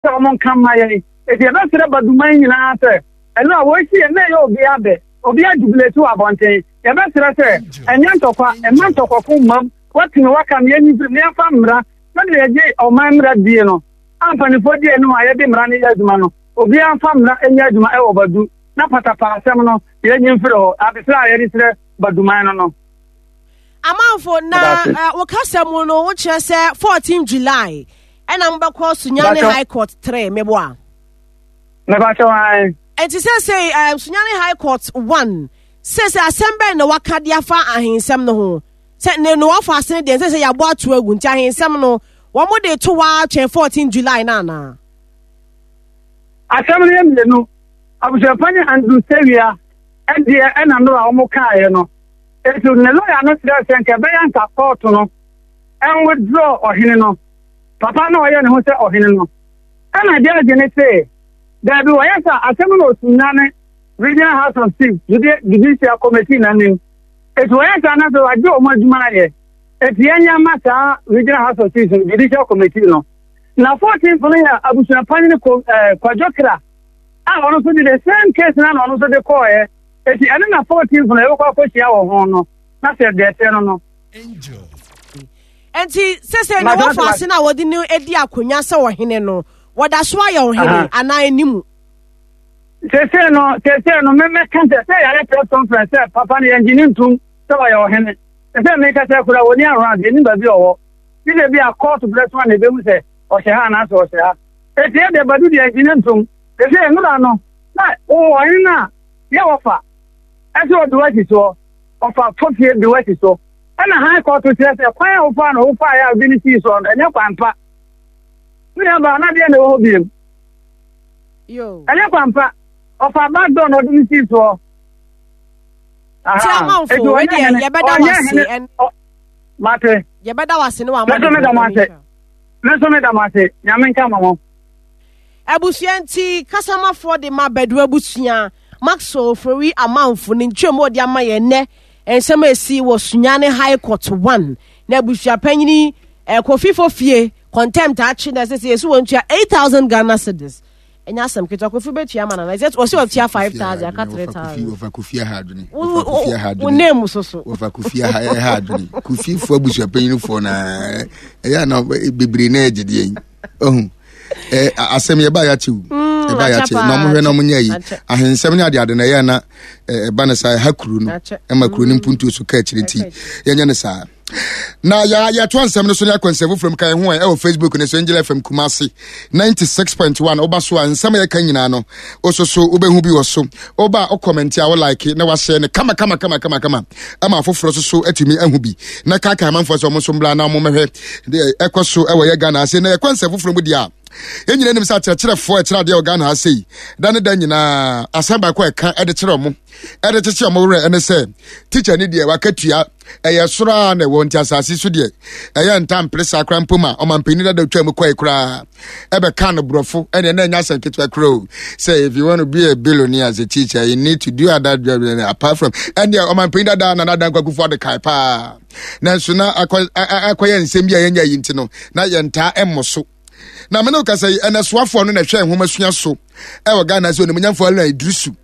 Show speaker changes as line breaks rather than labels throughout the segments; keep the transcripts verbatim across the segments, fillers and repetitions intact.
Sɛ wɔn nka mma yɛn. Enti yɛbɛsrɛ Baduman nyinaa sɛ, ɛno a wɔresi yɛn na ɛyɛ obiara dɛ, obiara jubilate wɔ abɔnten. Yɛbɛsrɛ sɛ, ɛnyɛ ntɔkwa, mma ntɔkwako mmam, wɔatumi wɔaka no, yɛnyi mfiri mu na yɛmfa mmara sɛdeɛ yɛgye ɔman mmara die no, a mpanimfoɔ di anim a yɛde mmara no yɛ adwuma no, obiara mfa mmara nyɛ adwuma wɔ Badu na patapaa asɛm no yɛnyi mfiri hɔ. Adesrɛ a yɛde srɛ Baduman no no.
Amanfo, na eh, wo kasa mu no wokyerɛ sɛ fourteen July ɛna mobɛkɔ Sunyani High Court three, meboa?
Mebakyɛ wan.
Nti sɛsei um, Sunyani High Court one sɛsei asɛm bɛn na waka de afa ahensɛm no ho sɛ ne no wafa ase no deɛ sɛ sɛ yɛabɔ ato agu nti ahensɛm no wɔn de to waa twɛn fourteen July no anaa?
Asɛm no yɛ mmienu. Abusuapanyin Andrew Sewia ɛdeɛ ɛna nnora a wɔn kaeɛ no. Enti ne lɔya no srɛɛ sɛ nka ɛbɛyɛ anka kɔɔto no nwithdraw ɔhene no, papa no a ɔyɛ ne ho sɛ ɔhene no. Ɛna gyɛɛgye no see, Daabi, wɔyɛ saa a, asɛm no na Osunyane Regional House of Chiefs Judicial Committee no anim. Enti wɔyɛ saa na afei wɔagye wɔn adwuma ayɛ. Enti yɛnyɛ mma saa Regional House of Chiefs no Judicial Committee no. Na fourteenth no yɛ abusuapanyin ko eh, Kwadwo Kra a ɔno nso de the same case na na ɔno nso de kɔɔɛ. Eti ɛno na fourteenth no yɛbɛkɔ akɔhyia wɔ ho no, na sɛ deɛ ɛteɛ no no.
Enti sese na wɔfa ase na wɔde no adi akonnwa sɛ ɔhene no, wɔda so ayɛ ɔhene anaa ɛni mu?
Sese no, sese no, mɛmɛka sɛ sɛ yɛayɛ press conference sɛ papa no yɛngye ne ntom sɛ ɔyɛ ɔhene. Sɛ meka sɛ kura wɔni around, yɛnim baabi ɔwɔ. Gye sɛ bi a court berɛ so a na ɛbɛhu sɛ ɔhyɛ ha anaasɛ ɔhyɛ ha. Eti ɛdeɛ Badu deɛ yɛngye ne ntom. Sese nnora no, na ɔhene no a yɛ wɔfa ɛsɛ ɔde wasi soɔ, ɔfa fofie de wasi so. Ɛna high court kyerɛ sɛ kwan a wofaa no wofaa yɛ a wode no sii soɔ no ɛnyɛ kwan pa. Me nua baa na deɛ na ɛwɔ hɔ biem. Ɛnyɛ kwan pa. Ɔfa back door na ɔde no sii soɔ.
Ti amanfo wei deɛ yɛbɛda wase.
Mate.
Yɛbɛda wase ne wa
ama. Mɛso meda mo ase. Mɛso meda mo ase. Nyame nka mo ho.
Abusua nti kasamafoɔ de ma Badu abusua Maxwell Ofori Amanfo ne nkyerɛmu a ɔde ama yɛn nnɛ nsɛm a ɛsi wɔ Sunyani High Court one na abusua panyini eh, Kofi Fofie contempt akye na ɛsɛ sɛ yɛsi wɔn tua eight thousand Ghana cedis. Ɛnyɛ asɛm ketewa. Kofi bɛtua ama nana ɛsɛ ɔsɛ ɔtua five thousand aka three thousand.
Wɔfa Kofi aha adwene. Wɔfa Kofi aha adwene.
Wo name so so.
Wɔfa Kofi aha ɛha adwene. Kofi fo abusua panyinifoɔ na ɛyɛ ana bebree na ɛgye deɛ yi. Ɔhu. Ɛ asɛm yɛ ba yɛakyɛ o.
Mm,
Ɛba yɛakyɛ na ɔmo hwɛ na ɔmo nyɛ yi. Ahensɛm ne adeade na ɛyɛ na ɛba ne saa ɛha kuro no. Ɛma kuro no mm. mpuntuo so ka akyire nti yɛnyɛ ne saa. Na yɛ yɛtoa nsɛm no so ne akɔ nsɛm foforɔ mu ka yɛn ho ɛ ɛwɔ Facebook ne so Angel F M Kumasi ninety-six point one. Woba so a, nsɛm a yɛka nyinaa no woso so wobɛhu bi wɔ so. Woba a, wokɔmɛnti a, wo like na wahyɛ no kama kama kama kama kama ama afoforɔ so so atumi ahu bi na kaka amanfoɔ sɛ ɔmo nso mbra na ɔmo mmɛhwɛ deɛ ɛkɔ so ɛwɔ yɛ Ghana ase. Na yɛkɔ nsɛm foforɔ mu deɛ a, yɛn nyinaa nim sɛ akyerɛkyerɛfoɔ ɛkyerɛ adeɛ wɔ Ghana ha sei da ne da nyinaa, asɛm baako a ɛka ɛde kyerɛ ɔmo, ɛde kyekye ɔmo werɛ ɛne sɛ tikya ne deɛ wakatua ɛyɛ soro a na ɛwɔ, nti asase so deɛ ɛyɛ ntampere saa koraa mpo ma ɔmampanin dada twa mu kɔe koraa ɛbɛka no borɔfo ɛne ɛna ɛnya asɛm ketewa koraa o, sɛ if you want to be a billionaire as a teacher, you need to do other job apart from ɛne ɔmampanin dada Nana Dankwa Akufo Addo kae paa. Nanso na akɔyɛ nsɛm bi a yɛnya yi nti no na yɛntaa ɛmmɔ so. Na mene wo kasa yi, ɛnɛ soafoɔ no na ɛhwɛ nwoma sua so ɛwɔ Ghana sɛ Onimonyamfoɔ Haruna Iddrisu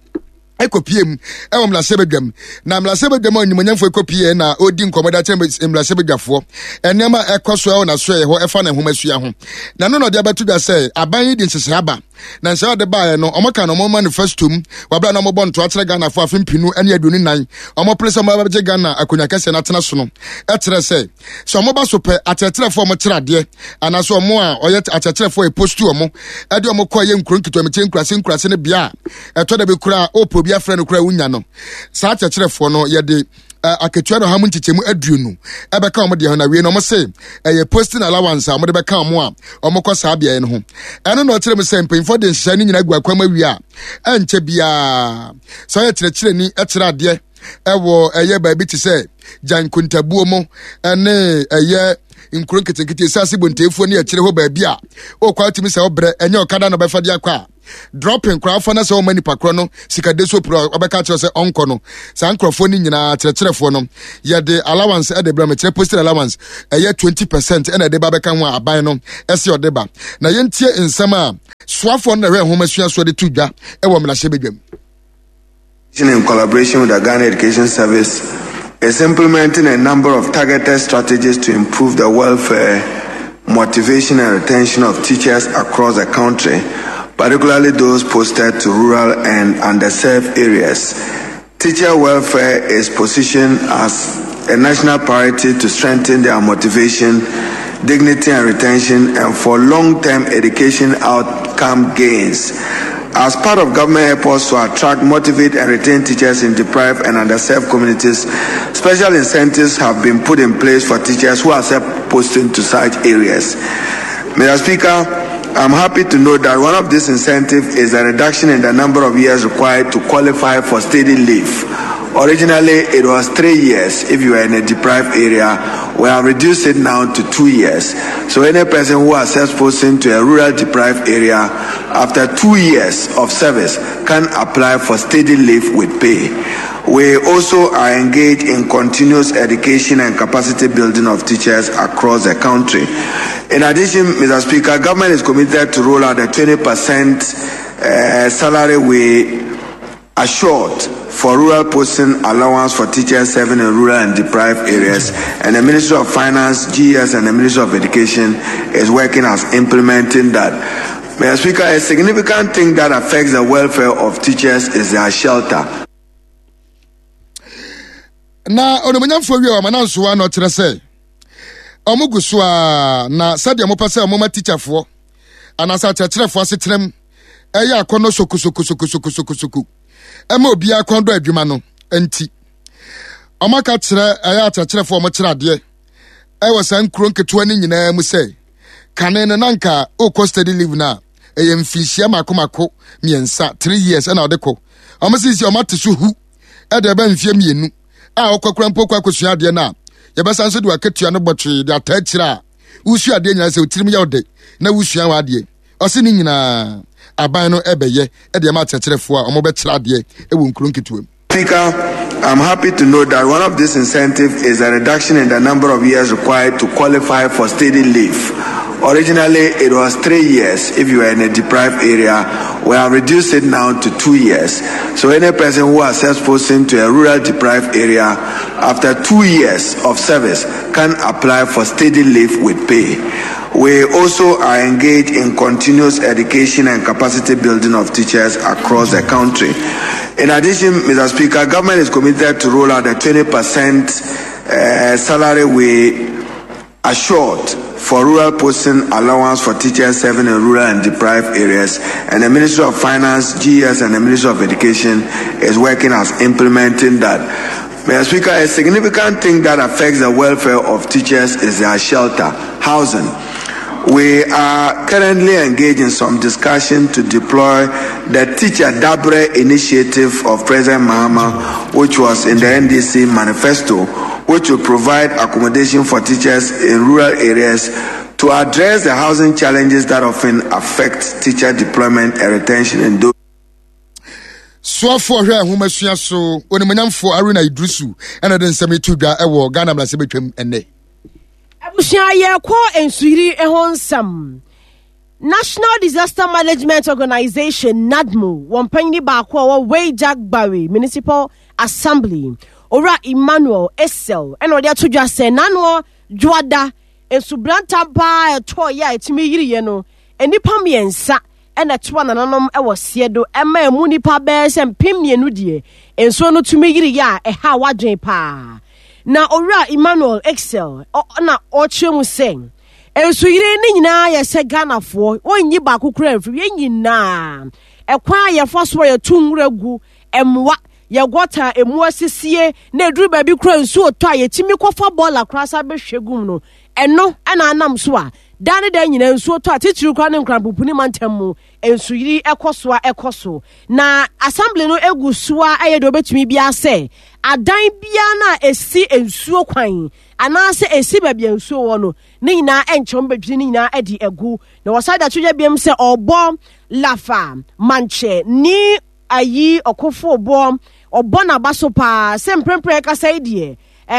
ɛkɔpie mu ɛwɔ mmarahyɛbadwam. Na mmarahyɛbadwam a onimonyamfoɔ ɛkɔpie na ɔdi nkɔmmɔ de akyerɛ mmarahyɛbadwafoɔ nneɛma a ɛkɔ so ɛwɔ n'asoɛeɛ hɔ ɛfa ne nwoma sua ho. Na no na ɔde abɛto dwa sɛ aban yi de nhyehyɛ aba, na nhyɛ ɔde baeɛ no, ɔmo ka no ɔmo manifesto mu wabra na ɔmo bɔ ntoa kyerɛ Ghanafoɔ afe mpinu ne aduonu nan ɔmo pere sɛ ɔmo bɛgye Ghana akonnwa kɛseɛ no atena so no, ɛkyerɛ sɛ sɛ ɔmo ba so pɛ, akyerɛkyerɛfoɔ ɔmo kyerɛ adeɛ anaasɛ ɔmo a ɔyɛ akyerɛkyerɛfoɔ ɛpostu ɔmo ɛde ɔmo kɔ ɛyɛ nkuro nketewa metie nkurase nkurase no bea a ɛtɔ da bi koraa ɔpɛ obi afrɛ no koraa wonya no, saa akyerɛkyerɛfoɔ no yɛde akatua no ha mu nkyekyɛmu aduonu ɛbɛka wɔn deɛ ho. Na wie no, wɔn se ɛyɛ posting allowance a wɔde bɛka wɔn a wɔn kɔ saa beaeɛ no ho. Ɛno na ɔkyerɛ mu sɛ mpanyinfoɔ de nhyehyɛ no nyinaa gu akwam awie a ɛnkyɛ biara sɛ ɔyɛ kyerɛkyerɛni ɛkyerɛ adeɛ ɛwɔ ɛyɛ baabi te sɛ Gyankontabuo mu ɛne ɛyɛ Nkuro nketenkete esase bonteefoɔ ne akyire hɔ baabi a ɔkɔ atumi sɛ ɔbrɛ ɛnyɛ ɔkada na ɔbɛfa de akɔ a dropping koraa fa na sɛ ɔma nipa korɔ no sikade so puro ɔbɛka kyerɛ sɛ ɔnkɔ no. Saa nkurɔfoɔ no nyinaa kyerɛkyerɛfoɔ no yɛde allowance ɛde brɛ mo, kyerɛ postal allowance ɛyɛ twenty percent ɛna ɛde ba bɛka ho a aban no ɛsɛ ɔde ba. Na yɛntie nsɛm a soafoɔ no na ɛhwɛ nhoma suasoɔ de to dwa ɛwɔ mmarahyɛbadwam.
In collaboration with the Ghana Education Service is implementing a number of targeted strategies to improve the welfare, motivation and retention of teachers across the country, particularly those posted to rural and underserved areas. Teacher welfare is positioned as a national priority to strengthen their motivation, dignity and retention, and for long-term education outcome gains. As part of government efforts to attract, motivate, and retain teachers in deprived and underserved communities, special incentives have been put in place for teachers who accept posting to such areas. Mister Speaker, I'm happy to note that one of these incentives is a reduction in the number of years required to qualify for steady leave. Originally, it was three years if you were in a deprived area. We have reduced it now to two years. So any person who accepts posting to a rural deprived area after two years of service can apply for steady leave with pay. We also are engaged in continuous education and capacity building of teachers across the country. In addition, Mister Speaker, government is committed to roll out the twenty percent uh, salary we assured for rural posting allowance for teachers serving in rural and deprived areas, and the Ministry of Finance, G S, and the Ministry of Education is working as implementing that. Mister Speaker, a significant thing that affects the welfare of teachers is their shelter.
Na onomanyamfo wi o mananso ano kyerɛ sɛ ɔmo so a na sɛdeɛ mopɛ sɛ ɔmo ma teacherfoɔ anaasɛ akyerɛkyerɛfoɔ asetenam ɛyɛ akɔnɔ sokosokosokosokosokosoku ɛma obiara kɔn dɔ adwuma no nti ɔmo aka kyerɛ ɛyɛ akyerɛkyerɛfoɔ ɔmo kyerɛ adeɛ ɛwɔ saa nkuro nketewa no nyinaa mu sɛ kane no nanka okɔ steady leave na ɛyɛ mfinhyia mako mako mmiɛnsa three years ɛna ɔde kɔ. Ɔmo sisi ɔmo ate so hu ɛde ɛbɛ mfie mmienu a ɔkɔ kura mpo kɔ akɔsua adeɛ no a yɛbɛsan so de wakatua no bɔtwee de ataa akyire a wosua adeɛ nyinaa sɛ otirim yɛ ɔde na wosua wɔ adeɛ ɔse ne nyinaa aban no ɛbɛyɛ ɛde ɛma akyerɛkyerɛfoɔ a ɔmo bɛkyerɛ adeɛ ɛwɔ nkuro nketewa mu.
Speaker, I'm happy to note that one of these incentives is a reduction in the number of years required to qualify for steady leave. Originally, it was three years if you were in a deprived area. We have reduced it now to two years. So any person who accepts posting to a rural deprived area after two years of service can apply for steady leave with pay. We also are engaged in continuous education and capacity building of teachers across the country. In addition, Mister Speaker, government is committed to roll out the twenty percent uh, salary we assured for rural posting allowance for teachers serving in rural and deprived areas, and the Ministry of Finance, G S, and the Ministry of Education is working as implementing that. Mister Speaker, a significant thing that affects the welfare of teachers is their shelter, housing. We are currently engaged in some discussion to deploy the Teacher Dabre initiative of President Mahama, which was in the N D C manifesto, which will provide accommodation for teachers in rural areas to address the housing challenges that often affect teacher deployment and retention in those.
Soafoɔ hwɛ ahomasua so onimonyamfoɔ Haruna Iddrisu ɛna de nsɛm etu dwa ɛwɔ Ghana mmarahyɛbadwam ɛnnɛ.
Abusua yɛkɔ nsuyiri ho nsɛm. National Disaster Management Organization NADMO wɔn panyin baako a ɔwɔ Weija-Gbawe Municipal Assembly Owura Emmanuel Essel ɛna ɔde ato dwa sɛ n'ano dwoada nsubrantam paa ɛtɔɔ yɛ a ɛtumi yiriɛ no nnipa mmiɛnsa ɛna ɛtoa nananom ɛwɔ seɛ do ɛma emu nipa bɛyɛ sɛ mpem mmienu deɛ nsuo no tumi yiriɛ a ɛha wadwen paa. Na Owura Emmanuel Essel na ɔkyerɛ mu sɛ nsuyiri ne nyinaa yɛ sɛ Ghanafoɔ wɔnyi baako kura mfiri yɛn nyinaa ɛkwan a yɛfa so a yɛtu nwura gu mmoa yɛgɔta emu asisie na eduru baabi kura nsuo tɔ a yɛtumi kɔfa bɔɔla koraa sa bɛhwɛ gu mu no ɛno ɛna anam so a dan ne dan nyinaa nsuo tɔ a titiri koraa ne nkranpopuni mantam mu nsuyiri ɛkɔ so a ɛkɔ so na assembly no egu so a ɛyɛ deɛ obetumi biara sɛ adan biara na esi nsuo kwan anaasɛ ɛsi baabi a nsuo wɔ no ne nyinaa ɛnkyɛ wɔn bɛdwiri ne nyinaa de agu. Na wɔsan de ato dwa biom sɛ ɔbɔ Lafa Mankyɛ ne ayi ɔkofo boɔ ɔbɔ n'aba so paa sɛ mprempren ɛkasa yi deɛ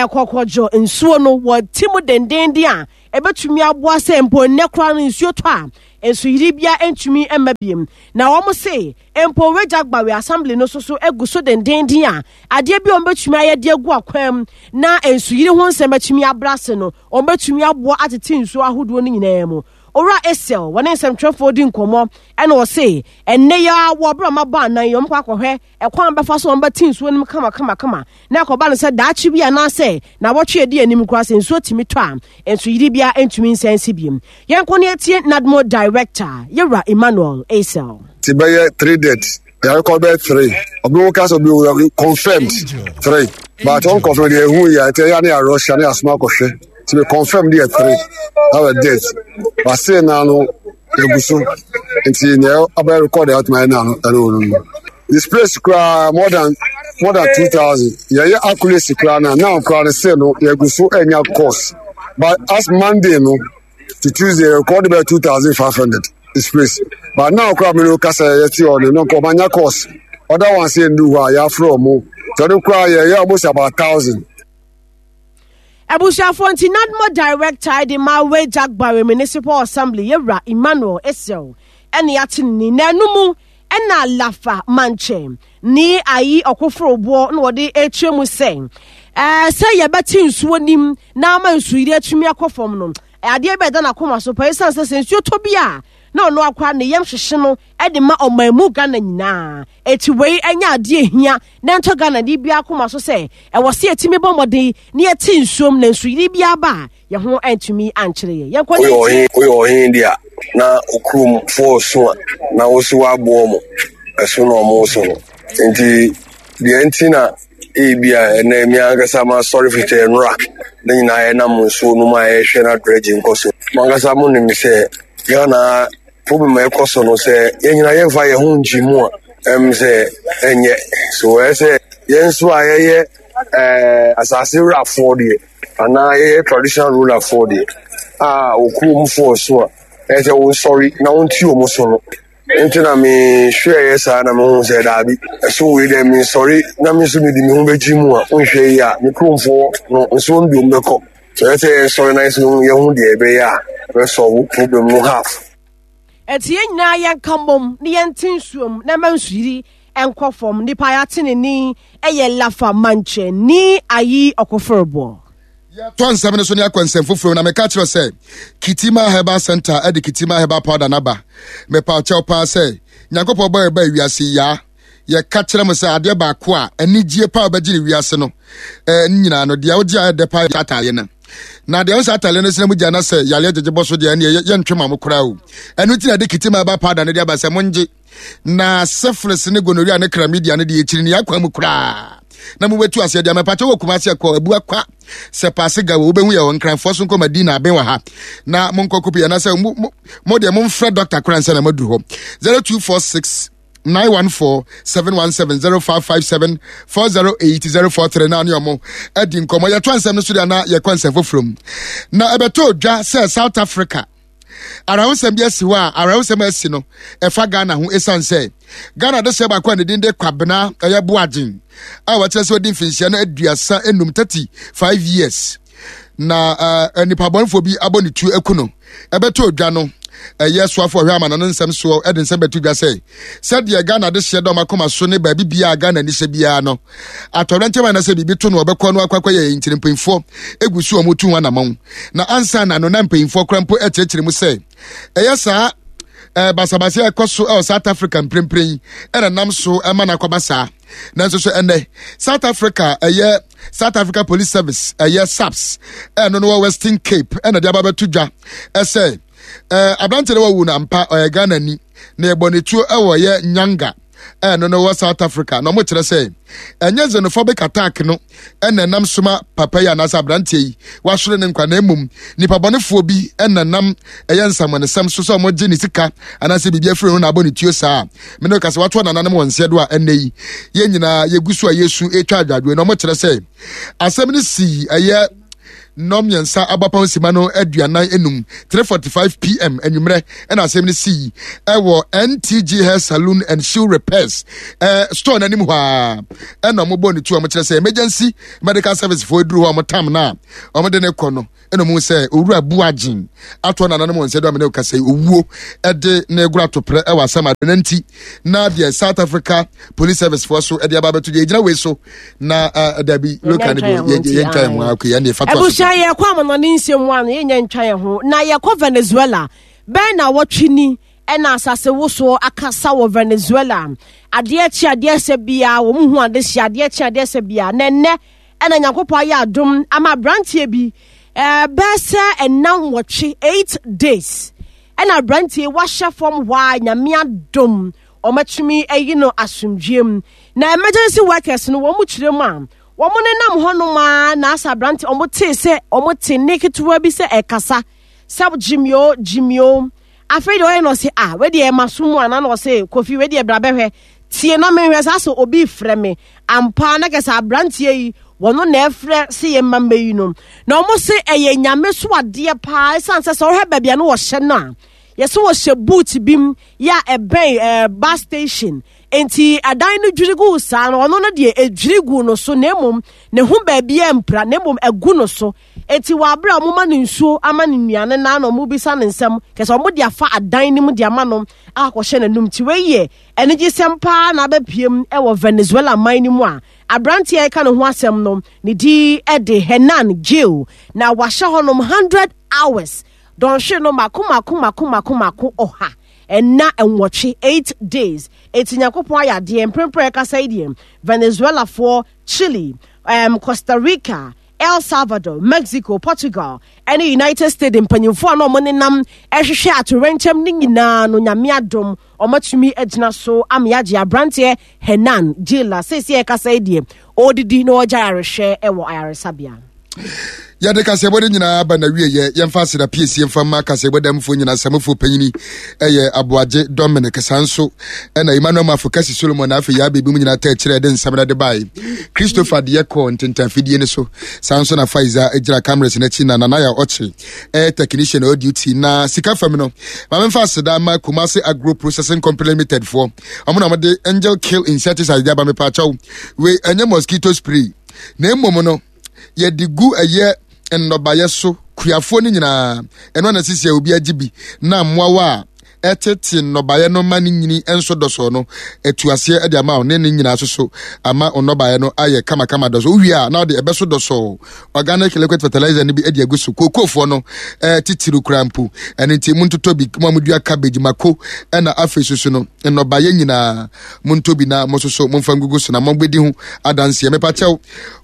ɛkɔkɔdwo nsuo no wɔte mu dendenden a ɛbɛtumi aboa sɛ mpo nnɛ koraa no nsuo tɔ a nsuyiri bia ntumi mma biem. Na wɔn se mpo Wagya Gbawe Assembly no so so egu so dendenden a adeɛ bi a wɔbɛtumi ayɛ de agu akwan mu na nsuyiri ho nsɛm atumi abra ase no wɔbɛtumi aboa atete nsuo ahodoɔ no nyinaa mu. Owura Esel wɔne nsɛmtwerɛfoɔ di nkɔmmɔ ɛna ɔse ɛnnɛ yi ara wɔ berɛ a wɔabɔ anan yi wɔkɔ akɔhwɛ ɛkwan bɛfa so wɔn bɛte nsuo no mu kama kama kama na ɛkɔba no sɛ daakye bi anaasɛ na wɔtwe adi anim koraa sɛ nsuo tumi tɔ a nsuyiri biara ntumi nsan nsi biem. Yɛnkɔ ne atie NADMO Director Yɛwura Emmanuel Esel.
Ti bɛyɛ three deaths yàrá bɛyɛ three obi wo kasa obi wo confirmed three but unconfirmed deɛ ehu yɛ nti ɛyɛ ne yɛ rush ne asoma akɔhwɛ ti bɛ confirmed deɛ three that were deaths but still naa no egu so nti nea abɛyɛ record a ɔtuma yɛ naa no ɛno wɔ no displace koraa more than more than two thousand yɛyɛ accuracy koraa na now koraa no still no yɛgu so ɛnya course but as Monday no to Tuesday record bɛyɛ two thousand five hundred displace but now koraa mi no kasa yɛ ti hɔ no no nkɔ ɔmanya course other ones yɛ ndu hɔ a yɛafrɛ ɔmo tɛno koraa yɛyɛ almost about thousand.
Abusuafoɔ nti NADMO Director de ma Wejagbare Municipal Assembly yɛwura Emmanuel Esel ɛne yɛate ne ni na ɛno mu ɛna Lafa Mankyɛ ne ayi ɔkoforoboɔ na wɔde ɛkyerɛ mu sɛ ɛɛ sɛ yɛbɛte nsuo nim na ama nsuyiri atumi akɔ fam no adeɛ bɛda n'akoma so pa ɛsiane sɛ sɛ nsuo tɔ bi a na ɔno akora ne yam hyehye no de ma ɔman mu Ghana nyinaa. Eti wei ɛnyɛ adeɛ ehia na ɛntɔ Ghana ni biara koma so sɛ ɛwɔ sɛ yɛtumi bɔ mmɔden na yɛte nsuom na nsuyiri biara ba a yɛn ho antumi ankyere yɛn. Yɛnkɔ ne
Woyɛ ɔhen woyɛ ɔhen deɛ a na okurom foɔ so a na wo so woaboɔ mo ɛso na ɔmo so no nti deɛ nti na ebia ɛnɛ mi ankasa masɔre fitɛ nnora ne nyinaa yɛnam nsuo no mu a yɛhwɛ na dredge nkɔ so mo ankasa mo nim sɛ Ghana problem a ɛkɔ so no sɛ yɛn nyinaa yɛmfa yɛn ho ngye mu a ɛm sɛ ɛnyɛ so ɛyɛ sɛ yɛn nso a yɛyɛ ɛɛ asase wurafoɔ deɛ anaa yɛyɛ traditional rulerfoɔ deɛ a okurom so a ɛyɛ sɛ wɔnsɔre na wɔnti wɔn so no nti na mehwɛeɛ saa na mehu sɛ daabi ɛso wei dɛ mensɔre na me nso mede me ho bɛgye mu a wonhwɛ yi a me kuromfoɔ no nso wɔn biom bɛkɔ so ɛyɛ sɛ yɛnsɔre na yɛsɛ yɛhu deɛ ɛbɛyɛ a ɛbɛsɔwo problem no half.
Ɛnti yɛn nyinaa yɛnka mmom na yɛnte nsuom na ɛma nsuyiri nkɔ fam. Nipa a yɛate ne ni yɛ Lafa Mankyɛ ni Ayi Ɔkoforeboɔ.
Yɛtɔ nsɛm no so ne akɔ nsɛm foforɔ na meka kyerɛ sɛ Kitima Herbal Center de Kitima Herbal Powder no aba. Mepa kyɛw paa sɛ Nyankopɔn bɔ yɛba wiase yaa yɛka kyerɛ mo sɛ adeɛ baako a anigye paa wobɛgye ne wiase no eh, ne nyinaa no deɛ wogye a ɛdɛ paa yɛ ataale no na deɛ wosɛ ataale no sena mu gya na sɛ yareɛ gyegye bɔ so deɛ ɛneɛ yɛntwe ma mo koraa o. Ɛno nti na ɛde Kitima Herbal Powder no de aba sɛ mongye na syphilis ne gonorrhea ne chlamydia no deɛ ɛkyiri ne akwan mu koraa na mobɛtu aseɛ deɛ mɛpakyɛ wɔ Kumase ɛkɔ abu akwa sɛ paase ga wɔ wobɛhu yɛ wɔ nkranfoɔ so nkɔ Madina aben wɔ ha na monkɔ kopi anaasɛ mo deɛ momfrɛ dɔkta koraa nsa na maduru hɔ zero two four six nine one four seven one seven zero five five seven four zero eight zero four three na ne ɔmo adi nkɔmɔ yɛto nsɛm no so deɛ na yɛkɔ nsɛm foforɔ mu na ɛbɛtɔ dwa sɛ South Africa awerɛhosɛm bi asi hɔ a awerɛhosɛm asi no ɛfa Ghana ho ɛsiane sɛ Ghana de hyɛ baako a ne din de Kwabena ɛyɛ Boagyen a wɔkyerɛ sɛ ɔdi mfinhyia no aduasa enum thirty five years na uh, nipa bɔnfoɔ bi abɔ ne tuo aku no ɛbɛtɔ odwa no ɛyɛ soafo ɔhwɛ ama no nsɛm soɔ ɛde nsɛm bɛto dwa sɛ sɛdeɛ Ghana de hyɛ dɔm akoma so ne baabi biara Ghana ni hyɛ biara no atɔrɛnkyɛm anasɛ biribi to no ɔbɛkɔ no akɔ akɔyɛ nkyerɛ mpanyinfoɔ egu so wɔn tu ho anamɔn na ansa na no na mpanyinfoɔ kora mpo ɛkyerɛkyerɛ mu sɛ ɛyɛ saa ɛɛ basabasa ɛkɔ so ɛwɔ South Africa mprempren yi ɛna nam so ɛma no akɔba saa nanso so ɛnɛ South Africa ɛyɛ South Africa Police Service ɛyɛ SAPS ɛno no wɔ Western Cape ɛna de aba bɛto dwa ɛsɛ ɛɛ aberante no wawu no ampa ɔyɛ Ghana ni na yɛbɔ ne tuo ɛwɔ yɛ Nyanga ɛno no wɔ South Africa na ɔmo kyerɛ sɛ ɛnyɛ xenophobic attack no ɛna ɛnam soma papa yi anaasɛ aberanteɛ yi wasoro ne nkwa na mmom nipa bɔnefoɔ bi ɛna nam ɛyɛ nsamonesɛm so sɛ ɔmo gye ne sika anaasɛ biribi afiri ho na abɔ ne tuo saa mene ka sɛ watoa nananom wɔn nseɛ do a ɛnɛ yi yɛn nyinaa yɛgu so a yɛsu ɛtwa adwadwoe na ɔmo kyerɛ sɛ asɛm no sii ɛyɛ Nnɔn mmiɛnsa abapɔn sima no aduanan enum, three forty-five p m anwummerɛ, ɛna asɛm no sii ɛwɔ N T G Hair Saloon and Shoe Repairs ɛɛ store n'anim hɔ a, ɛna wɔn bɔ ne tu a wɔkyerɛ sɛ emergency medical service foɔ eduru hɔ a, wɔn tam na wɔn de ne kɔ no, ɛna wɔn sɛ Owura Buagyen atoɔ nananom wɔn nsa do amena kasa yi, owuo ɛde ne gora toprɛ ɛwɔ asɛm ade ne nti. Na deɛ South Africa Police Service foɔ so ɛde aba abɛto deɛ egyina wei so na uh, dabi local no bi yɛntwa yɛn ho akɔ yɛn deɛ fa to aso.
Abusua, yɛkɔ amanɔne nsɛm mu ano, yɛnyɛ ntwa yɛn ho na yɛkɔ Venezuela. Bɛn na wɔtwe ni ɛna asase wosoɔ akasa wɔ Venezuela. Adeɛ kye adeɛ sɛ biara wɔn ho ade hyɛ, adeɛ kye adeɛ sɛ biara, na ɛnɛ ɛna Nyankopɔn ayɛ adom ama aberanteɛ bi ɛɛ bɛɛ sɛ ɛna nwɔtwe, eight days, ɛna aberanteɛ wahyɛ fam hɔ a, Nyame adom, wɔatumi ayi no asomdwie mu. Na emergency workers no, wɔn kyerɛ mu a, wɔn nenam hɔnom a, na asa aberante wɔn tee sɛ wɔn te ne ketewa bi sɛ ɛkasa sɛ "Jimio, Jimio." Afei deɛ ɔyɛ no, ɔsɛ ah, wei deɛ ɛma so mu ana? Na ɔsɛ, "Kofi, wei deɛ bra bɛhwɛ, tie na mehwɛ saa sɛ obi frɛ me ampa." Na kɛsɛ aberanteɛ yi wɔn na ɛfrɛ sɛ yɛ mma mma yi no, na wɔn sɛ ɛyɛ Nyame so adeɛ paa, ɛsan sɛ sɛ ɔhwɛ baabi a no wɔhyɛ no a, yɛsɛ wɔhyɛ boot bi mu yɛ a ɛbɛn ɛɛ bus station, nti adan no dwiri gu saa no, ɔno no deɛ edwiri gu no so, na emom ne ho baabi mpira, na emom egu no so. Eti wɔ abere a wɔn ma no nsuo, ama no nnuane, na na wɔn bisa ne nsɛm kɛsɛ wɔn de afa adan no mu de ama no akɔhyɛ n'anum. Ti wei yɛ anigyesɛm paa na abɛpiem wɔ Venezuela man no mu a aberanteɛ a ɛka ne ho asɛm no ne di de Hernan Gil, na wahyɛ hɔnom hundred hours, dɔnhwere no mako mako mako mako mako ɔha ɛna nwɔtwe, eight days. Eti Nyankopɔn ayɛ adeɛ mprempren ɛkasa yi deɛ, Venezuelafoɔ, Chile, um, Costa Rica, El Salvador, Mexico, Portugal ɛne United States mpanyinfoɔ a na wɔn nenam ɛhwehwɛ atorenkyɛm ne nyinaa no, Nyame adom, wɔatumi agyina so ama yɛagye aberanteɛ Hernan Gil a seesie ɛkasa yi deɛ, ɔredidi na ɔregya ayarehwɛ ɛwɔ ayaresabea.
Yɛde kaseɛbɔ no nyinaa ba na wieyɛ. Yɛmfa aseda piesie mfa ma kaseɛbɔ damfoɔ nyinaa. Samufoɔ panyini ɛyɛ Aboagye Dominic, saa nso ɛna Emmanuel Mafo Kasi Solomon, na afei yɛa biribi mu nyinaa ta akyirɛ ɛde nsɛm no de bae, Christopher deɛ kɔɔ ntentafidie no so, saa nso na Faiza gyina cameras no akyi, na Nanaya Ɔkye ɛyɛ technician ɔyɛ duty. Na sika fam no, ma memfa aseda ma Kumase Agro Processing Company Limited foɔ. Ɔmo na ɔmode Angel Kill insecticide de aba. Mepaakyɛw, wei ɛnyɛ mosquito spray, na mmom no yɛde gu ɛyɛ nnɔbaeɛ so. Kuafoɔ no nyinaa, ɛno ana sisi a obi agye bi na mmoawa a ɛtete nnɔbaeɛ no ma ne nyini nso dɔsɔ no atu aseɛ de ama wo ne ne nyinaa so so ama nnɔbaeɛ no ayɛ kamakama dɔsɔ. Wowie a, na wode ɛbɛso dɔsɔ organic liquid fertilizer no bi de agu so. Kookoofoɔ no ɛɛ titiri kura mpo ɛno nti montotɔ bi. Mo a modua cabbage, mako, ɛna afei soso no nnɔbaeɛ nyinaa, montɔ bi na mo soso momfa ngugu so na mobɛdi ho adanseɛ. Mepakyɛw,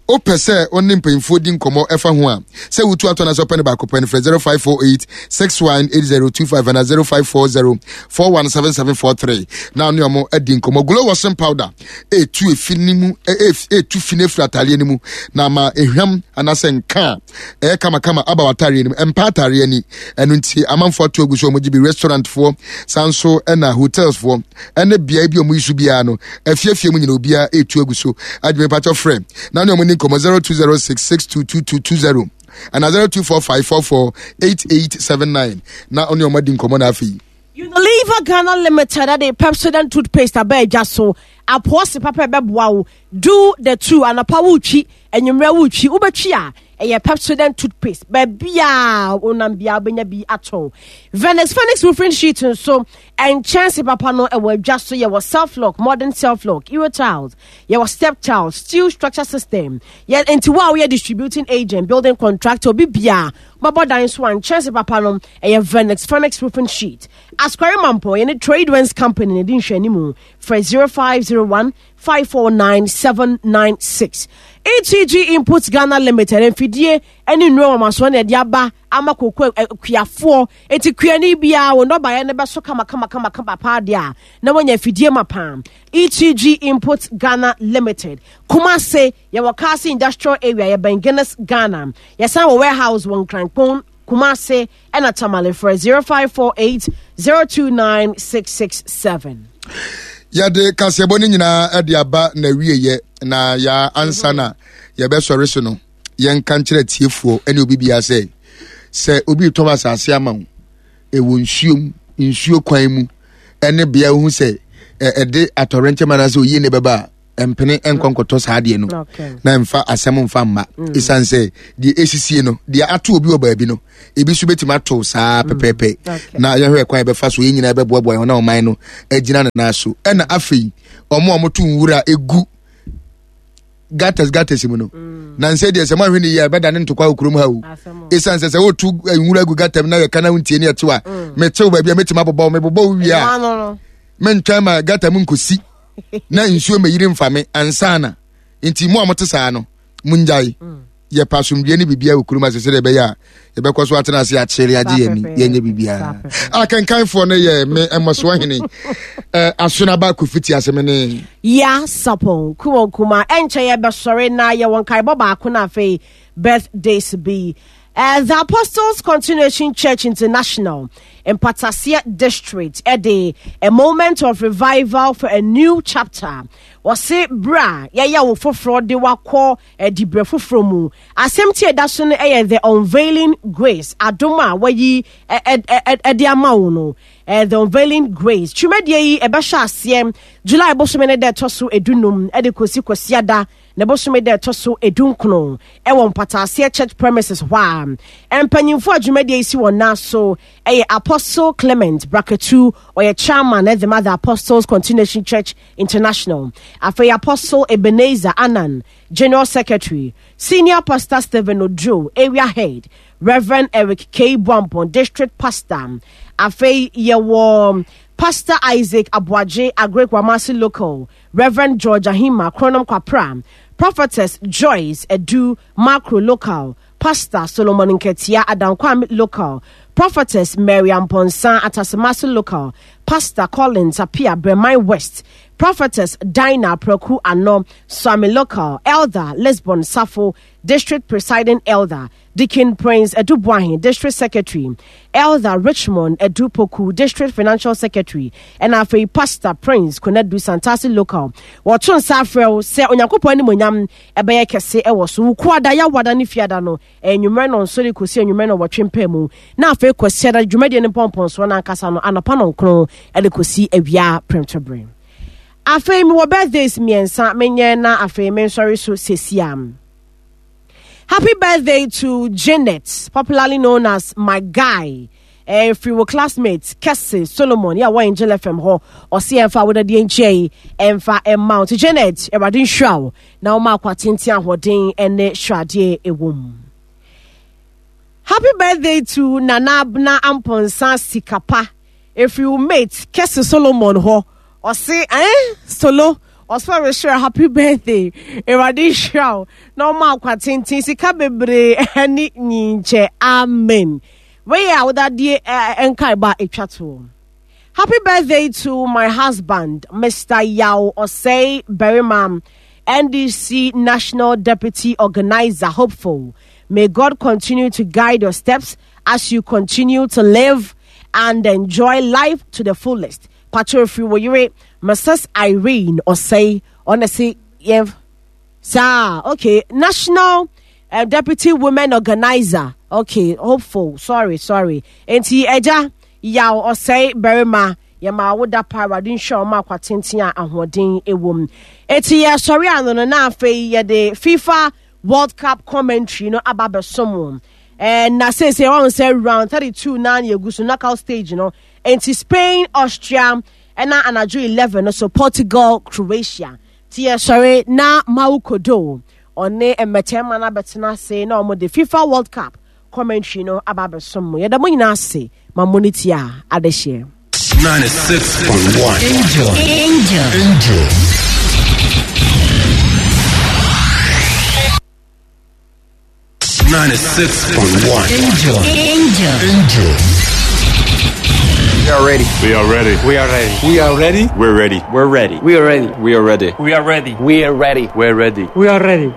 wopɛ sɛ wo ne mpanyimfoɔ di nkɔmmɔ ɛfa ho a, sɛ wotu atɔ no sɛ wopɛ no baako pɛ no, frɛ zero five four eight six one eight zero two five ana zero five four zero four one seven seven four three na ne ɔmo adi nkɔmmɔ. Glow washing powder ɛtu efi ne mu, ɛtu fi no afiri ataareɛ no mu na ama ehwam anaasɛ nka a ɛyɛ kamakama aba w'ataareɛ no mu, mpa ataareɛ ani. Ɛno nti amanfoɔ ato agu so, ɔmo gye bi. Restaurant foɔ saa nso ɛna hotels foɔ ɛne beaeɛ bi a ɔmo yi so biara no, afiefie mu nyina obiara ɛtu agu so adwuma. Patɔ frɛ na ne ɔmo ni nkɔmmɔ zero two zero six six two two two two zero ana zero two four five four four eight eight seven nine na ɔne ɔmo adi nkɔmmɔ. Na afei
Unilever Ghana Limited de Pepsodent toothpaste aba agya so. Apoɔse papa ɛbɛboa wo. Do the two, anɔpa wotwi, anwummerɛ wotwi, wobɛtwi a ɛyɛ Pepsodent toothpaste. Baabi a wonam biara wobɛnya bi atɔ. Venice Phoenix roofing sheet nso, nkyɛnse papa no ɛwɔ adwa so. Yɛwɔ self lock, modern self lock, euro tiles, yɛwɔ step tiles, steel structure system. Yɛ nti wo a woyɛ distributing agent, building contractor, obi bia bɛbɔ dan so a, nkyɛnse papa no ɛyɛ Venice Phoenix roofing sheet. Askware Mampɔ yɛne Trade Winds Company ne di nhwɛanimu. Frɛ zero five zero one five four nine seven nine six. E T G Inputs Ghana Limited, mfidie ne nnuro wɔmasoɔ na ɛde aba ama koko kuafoɔ. Eti kuani biara wɔn nnɔbaeɛ no bɛso kama kama kama kama paa deɛ a, na wɔanya afidie ma paa. E T G Inputs Ghana Limited, Kumase yɛwɔ Kaase Industrial Area, yɛbɛn Guinness Ghana. Yɛsan wɔ warehouse wɔ Nkrankpon, Kumase ɛna Tamale. Frɛ zero five four eight zero two nine six six seven.
Yɛde kaseɛbɔ no nyinaa de aba na wieyɛ na yɛ ansa na yɛbɛsɔre so no. Yɛnka nkyerɛ atiefoɔ ne obi biara sɛ sɛ obi retɔn asase ama wo ɛwɔ nsuo mu nsuo kwan mu ɛne bea wohu sɛ ɛde atɔrɛnkyɛm anaasɛ oyie ne bɛba a mpene nkɔ nkɔtɔ saa adeɛ no na mfa asɛm mfa mma mm. ɛsiane sɛ deɛ ɛsisie no deɛ ato obi wɔ baabi no ebi nso bɛtumi ato saa mm. pɛpɛɛpɛ na yɛhwɛ kwan yɛbɛfa so yɛn nyinaa bɛboaboa yɛn na ɔman no agyina ne nan so ɛna afei wɔn a wɔto nwura egu gutters gutters mu no mm. na nsɛ deɛ sɛ moahwɛ no yie a ɛbɛda ne ntokwa wɔ kurom ha o ɛsiane sɛ sɛ wotu eh, nwura gu gutter mu na yɛka na wontie ne ɛtew a mm. metew baabi a mɛtumi abobɔ wo mebobɔ wo wie a mentwɛn ma gutter mu nkɔsi na nsuo mɛyiri mfa me ansa na nti mo a mote saa no mongyae mm. Yɛpɛ asomdwoeɛ ne biribiara wɔ kurom ase sɛdeɛ ɛbɛyɛ a yɛbɛkɔ so atena ase akyere agye yɛn ani yɛnyɛ biribiara. Akenkanfoɔ no yɛ me mmɔsoɔ hene Asonaba Kofi ti ase me ne
Ya Sapon Kumon Kuma. Ɛnkyɛ yɛbɛsɔre na yɛwɔ nkaebɔ baako na afei birthdays bi. Uh, the Apostles Continuation Church International Mpataseɛ District ɛde a moment of revival for a new chapter. Wɔse berɛ a yɛyɛ wo foforɔ de wakɔ Diberɛ foforɔ mu. Asɛmti a ɛda so no yɛ The Unveiling Grace, adom a wɔayi de ama wo no. The Unveiling Grace. Twumadie yi ɛbɛhyɛ aseɛ July bosome no da ɛtɔ so edunum de kɔsi Kwasiada ne bosome da ɛtɔ so edunkron ɛwɔ Mpataaseɛ Church premises hɔ a. Mpanyinfoɔ a dwumadie yi si wɔn nan so ɛyɛ Apostle Clement Braketu, ɔyɛ chairman ɛde ma The Apostles Continuation Church International, afei Apostle Ebenezer Annan, General Secretary, Senior Pastor Stephen Oduro, Area Head, Rev. Eric K. Boampong, District Pastor, afei yɛwɔ Pastor Isaac Aboagye, Agric Wamasi Local, Rev. George Ahima, Kronom Kwapra, Prophetess Joyce Edu, Macro Local, Pastor Solomon Nketia, Adankwame Local, Prophetess Mary Amponsah, Atasemase Local, Pastor Collins Appiah, Breman West, Prophetess Dinah Preku Ano, Swami Local, Elder Lisbon Safo, District Presiding Elder, Deacon Prince Edu Boahen, District Secretary, Elder Richmond Edu Poku, District Financial Secretary, ɛna afei Pastor Prince Konadu Santasi Local. Wɔto nsa afrɛ wo sɛ Onyankopɔn animuonyam ɛbɛyɛ kɛse ɛwɔ so. Wukuada, Yawada ne Fiada no, anwummerɛ nnɔnson de kɔsi anwummerɛ nnɔnwɔtwe mpaa mu, na afei Kwasiada dwumadie no mpɔmpɔnsoɔ no ankasa no anɔpa nnɔnkron de kɔsi awia prɛmtoberɛ. Afei mewɔ birthdays mmiɛnsa menyɛ na afei mensɔre so sesia. Happy birthday to Janet, popularly known as my guy. Eh, firi wo classmate Kɛse Solomon yɛ a wɔ Angel F M hɔ ɔse ɛmfa awodadeɛ nkyia yi ɛmfa ɛma wo nti Janet Awurade nhyira wo na woma akwa tenten ahoɔden ne sradeɛ ɛwɔ mu. Happy birthday to Nana Abena Amponsah Sikapa ɛfiri wo mate Kɛse Solomon hɔ ɔse eh Solo ɔsɛ ɔrehyira happy birthday Awurade nhyira wo na ɔma akwa tenten sika bebree ne nyinkyɛ amen. Wei yɛ awodadie nkaebɔ a ɛtwa toɔ. Happy birthday to my husband, Mister Yaw Osei Berima, N D C National Deputy Organizer hopeful. May God continue to guide your steps as you continue to live and enjoy life to the fullest. Patrol free wo yere, Missus Irene Osei, ɔna se yɛn saa, okay, National uh, Deputy Women Organizer, okay, hopeful, sorry, sorry. Enti ɛgya Yaw Ɔsɛe Barima, yɛma wo da pa, Awurade nhyira wo ma akwa tenten a ahoɔden wɔ mu. Enti yɛsɔre ano no na afei yɛde FIFA World Cup commentary no aba abɛsom wo. Eh, na seesei wɔn sɛ round thirty-two na yɛgu so knockout stage no. Enti Spain, Austria, ɛna anadwo eleven no so Portugal, Croatia. Ti yɛsɔre na Mawu Kodo ɔne mmɛtɛmma no abɛtena ase na wɔn de FIFA World Cup commentary no aba abɛsom mo. Yɛda mo nyinaa ase ma mo ne ti a adehyeɛ.
ninety-six point one Angel. Angel. Angel. ninety-six point one Angel. Angel. Angel.
We are ready.
We are ready.
We are ready.
We are ready.
We're ready.
We're ready.
We are ready.
We are ready.
We are ready.
We are ready.
We're ready.
We are ready.
We are ready.